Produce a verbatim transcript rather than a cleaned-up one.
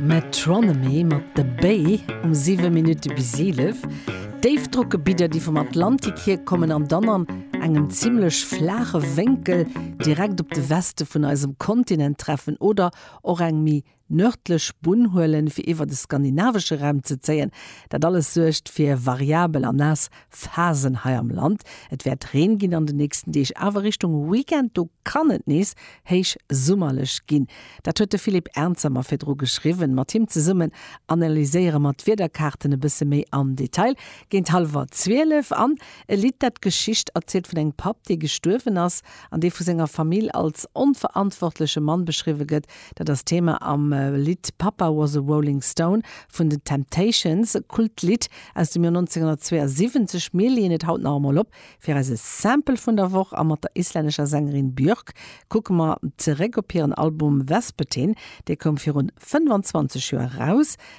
Metronomy mat The Bay um siwe Minutte bis eelef. Déifdrockgebidder, déi vum Atlantik hier kommen an dann an engem zimmlech flaache Wénkel direkt op de Weste vun eisem Kontinent treffen oder och eng méi nërdlech Bunn huelen, fir iwwer de skandinavesche Raum ze zéien. Dat alles suergt fir variabel an naass Phasen hei am Land. Et wäert Reen ginn an den nächsten Deeg, awer Richtung Weekend do kann et nees héich summerlech ginn. Dat huet de Philippe Ernzer mer virdru geschriwwen. Mat him zesummen analyséiere mer d'Wiederkaarten e bësse méi am Detail. Géint hallwer zwielef an e Lidd, dat d'Geschicht erzielt vun engem Papp, dee gestuerwen ass, an dee vu senger Famill als onverantwortleche Mann beschriwwe gëtt. Dat ass Thema am äh, Lidd Papa Was a Rolling Stone vun den Temptations, e Kultlidd aus dem Joer neunzehnhundertzweiundsiwwenzeg. Mir leeën et haut nach emol op fir eise Sample vun der Woch a mat der islännescher Sängerin Björk kucke mer zeréck op hiren Album Vespertine, dee koum virun fënnfanzwanzeg Joer raus.